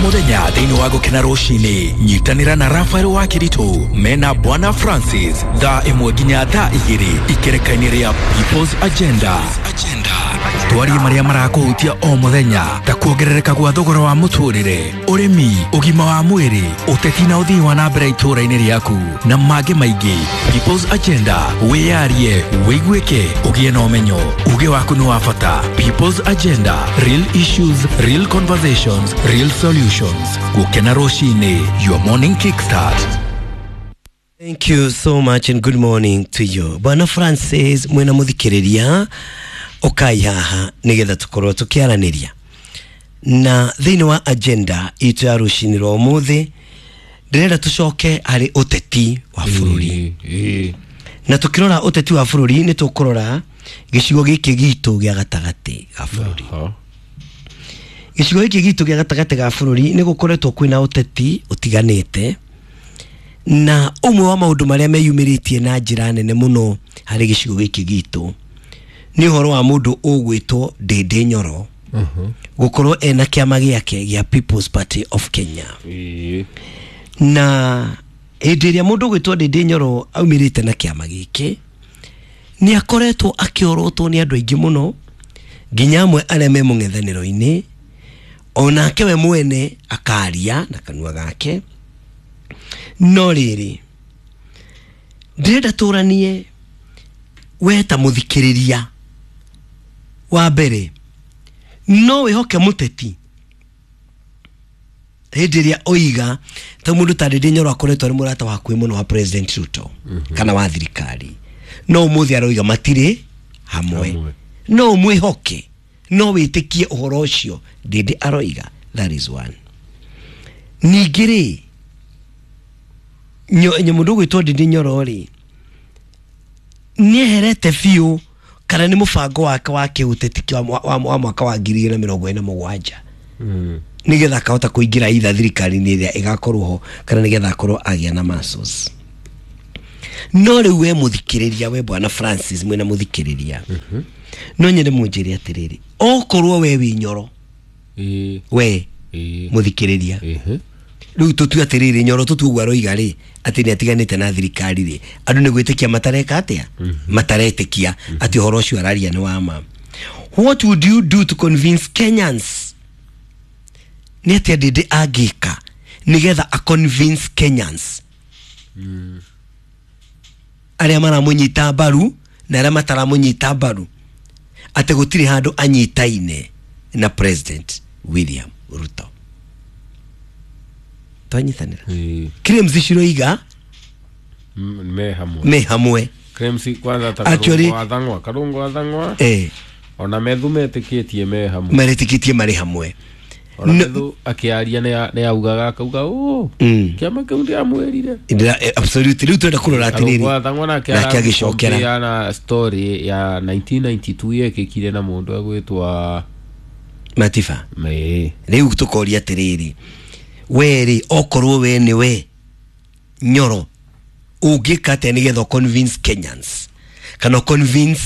Mũthenya thĩinĩ wa Gũkena Rũcinĩ, nyitanĩra na Rafael wa Kĩritũ mena Bwana Francis thaa 1 nginya thaa 2 ikereka-inĩ rĩa People's Agenda. Twarie marĩa marakũhutia o mũthenya ta kuongerereka gwa thogora wa mũtũrĩre, ũrĩmi, ũgima wa mwĩrĩ, ũteti na ũthii wa na mbere itũũra-inĩ rĩaku na mangĩ maingĩ. People's Agenda, wĩyarie, wĩiguĩke, ũgĩe na ũmenyo. Uge waku nĩ wa bata. People's Agenda, real issues, real conversations, real solutions. Gũkena Rũcinĩ, your morning kickstart. Thank you so much and good morning to you. Bwana Francis mwena muthikiriria ukai haha nigetha tukorwo tukiaraniria na thiini wa agenda itu ya rucini rwa umuthi. Ndirenda tucoke hari uteti wa bururi na tukirora uteti wa bururi ni tukurora gicigo giki gitu gia gatagati ga bururi. Gicigo giki gitu gia gatagati ga bururi ni gukoretwo kwina uteti utiganite na umwe wa maundu maria meyumiritie na njira nene muno hari gicigo giki gitu ni uhoro wa mundu ugwitwo Ndindi Nyoro gukorwo ena kiama giake gia People's Party of Kenya. Na hindi iria mundu ugwitwo Ndindi Nyoro aumirite na kiama giki ni akoretwo akiorotwo ni andu aingi muno nginya amwe aria me mung'ethaniro-ini, onake we mwene akaria na kanua gake. No riri ndirenda turanie we ta muthikiriria wa mbere no wihoke muteti hindi iria oiga ta mundu ta Ndindi Nyoro akoretwo ari murata wakuhi muno wa President Ruto kana wa thirikari, no umuthi aroiga matiri hamwe. No mwihoke, no witikie uhoro ucio Ndindi aroiga. That is one. Ningĩ rĩ mundu gwitwo Ndindi Nyoro rĩ nieherete biũ kana nĩ mũbango wake wa kĩũteti wa mwaka wa 2027 nigetha akahota kũingĩra itha thirikari-inĩ ĩrĩa ĩgakorwo ho kana nigetha akorwo agĩa na muscles. No rĩu we mũthikĩrĩria, we Bwana Francis mwena mũthikĩrĩria, no nyende mũnjĩre atĩrĩrĩ, okorwo we wĩ Nyoro, we mũthikĩrĩria, rĩu tũtue atĩrĩrĩ Nyoro tũtue ũguo aroiga rĩ atĩ nĩ atiganĩte na thirikari rĩ, andũ nĩ gwĩtĩkia matareka atĩa, mataretĩkia atĩ ũhoro ũcio araria nĩ wa ma. What would you do to convince Kenyans? Nĩ atĩa Ndindi angĩka nĩgetha a convince Kenyans arĩa maramũnyita mbaru na arĩa mataramũnyita mbaru atĩ gũtirĩ handũ anyitaine na President William Ruto? Twanyitanĩra claims ciroiga me hamwe, me hamwe. Claims kwanza ta Karungu athang'wa ona Methu metĩkĩtie me hamwe, maretĩkĩtie marĩ hamwe. Ona Methu akĩaria nĩ augaga akauga kĩama kĩu ndĩramwĩrire. Absolutely. Rĩu twenda kũrora atĩrĩrĩ, Karungu athang'wa nake agĩcokera na story ya 1992 yekĩkire na mũndũ agwĩtwa Matifa. Rĩu tũkoria atĩrĩrĩ, we rĩ okorwo we nĩ we Nyoro ũngĩka atĩa nĩgetha convince Kenyans kana convince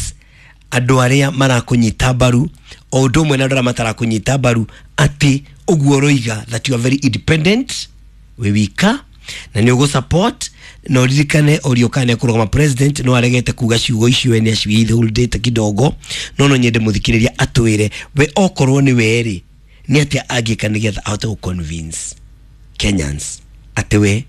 andũ arĩa marakũnyita mbaru o ũndũ ũmwe na andũ arĩa matarakũnyita mbaru atĩ ũguo ũroiga that you are very independent wĩ wika na nĩ ũgũ support na ũririkane ũrio kana kũrũgama president no aregete kuga ciugo icio we nĩ aciwithholdĩte kidogo. No nyende mũthikĩrĩria atwĩre we okorwo nĩ we rĩ nĩ atĩa angĩka nĩgetha ahote gũ convince Kenyans atĩ we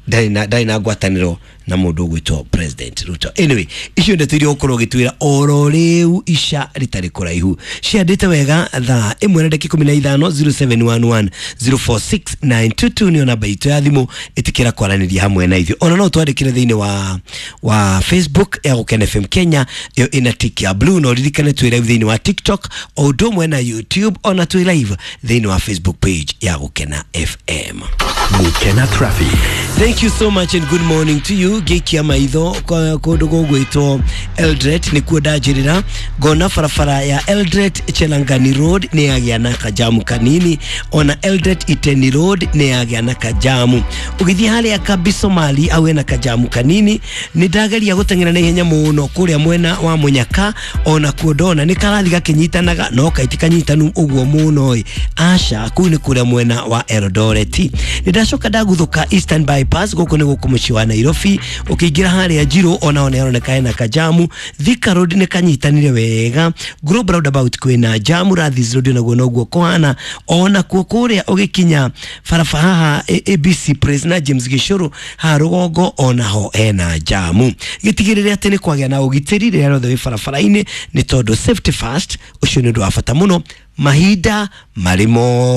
ndarĩ na ngwatanĩro na mũndũ ũgwĩtwo President Ruto. Anyway, icio ndeto iria ũkorwo ũgĩtwĩra oro rĩu ica rĩtarĩ kũraihu ciandĩte wega thaa 1:15 0711 046922 nĩyo namba itũ ya thimũ, ĩtĩkĩra kwaranĩria hamwe na ithuĩ. Ona no twandĩkĩre thĩinĩ wa Facebook ya Gũkena FM Kenya, ĩyo ĩna tick ya blue, na ũririkane twĩ live thĩinĩ wa TikTok o ũndũ ũmwe na YouTube, ona twĩ live thĩinĩ wa Facebook page ya Gũkena FM. Gũkena Traffic. Traffic. Thank you so much and good morning to you. Ngĩikia maitho kũndũ gũgwĩtwo Eldoret nĩkuo ndanjĩrĩra, ngona barabara ya Eldoret Chelangani Road nĩ yagĩa na kajamu kanini, ona Eldoret Iteni Road nĩ yagĩa na kajamu. Ũgĩthiĩ harĩa Kambi Somali au hena kajamu kanini. Nĩ ndageria gũteng'era na ihenya mũno kũrĩa mwena wa Mũnyaka, ona kuo ndona nĩ karathi gakĩnyitanaga no kaiti kanyitanu ũguo mũno ĩ aca, kũu nĩ kũrĩa mwena wa Eldoret. Nĩ ndacoka ndaguthũka Eastern Bypass, gũkũ nĩ gũkũ mũciĩ wa Nairobi, ũkĩingĩra harĩa Njirũ ona nĩ haroneka hena kajamu. Thika Road nĩ kanyitanire wega, Global Roundabout kwĩna jamu, Rathis Road naguo noguo kũhana, ona kuo kũrĩa ũgĩkinya barabara haha ABC Place na James Gĩcũrũ haha rũgongo onaho hena jamu. Gĩtigĩrĩre atĩ nĩ kwagĩa na ũgitĩri rĩrĩa rĩothe wĩ barabara-inĩ, nĩ tondũ safety first, ũcio nĩ ũndũ wa bata mũno mahinda marĩ mo.